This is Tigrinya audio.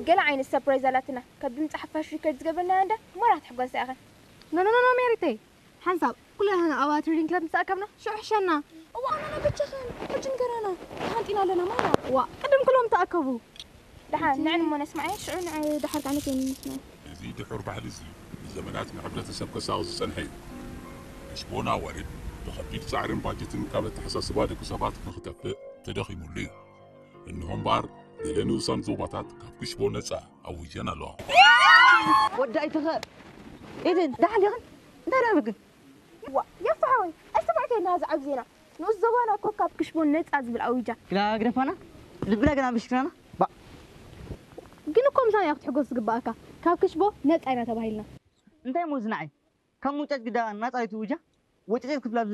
ገለ ዓይነት ሰርፕራይዝ ኣላትና። ካብ ድምፂ ሓፋሽ ሪከርድ ዝገበርናያ እንዳ ማራ ክትሕጎሳ ኢኽን። ኖ ኖ ኖ ኖ፣ ሜሪተይ፣ ሓንሳብ ኩላህና ኣብ ትሬዲንግ ክለብ ምስ ተኣከብና ሽዑ ሕሸና። እዋ፣ ኣነ በጃኽን ሕጂ ንገራና። ተሃንጢና ኣለና ማራ። ዋ፣ ቅድም ኩሎም ተኣከቡ። ደሓን ንዕን እሞ ነስማዐ፣ ሽዑ ንዕ ደሓር ከዓነ ከይንስማዕ። እዚ ድሑር ባህሊ እዚ ንዘመናት ንሕብረተሰብ ከሳቕ ዝጸንሐ እዩ። ክሽቦ ናዋሪድ ብኸቢድ ጻዕርን ባጀትን ካብ ኣተሓሳስባ ደቂ ሰባት ንኽጠፍእ ተደኺሙሉ እዩ። እንሆ እምበኣር፣ ገለ ንኡሳን ዞባታት ካብ ክሽቦ ነጻ ኣዊጀን ኣለዋ። ወዲ ኣይትኸ ኢድን ደሓን ዲኽን እንታይ ደኣ ብግን ዋ፣ የፋ ሓወይ፣ ኣስተባዕከልና እዚ ዓቢ ዜና። ንኡስ ዞባና እኮ ካብ ክሽቦ ነጻ ዝብል ኣዊጃ። ግዳ ግደፋና ልብና ግና ብሽክናና ግን እኮ ምሳና እያ ክትሕጎስ ዝግባኣካ። ካብ ክሽቦ ነጻ ኢና ተባሂልና። እንታይ እሞ ዝንዓይ ካብ ሙጨጭ ግዳ ናጻ ኣይትውጃ ወጨጨት ክፍላ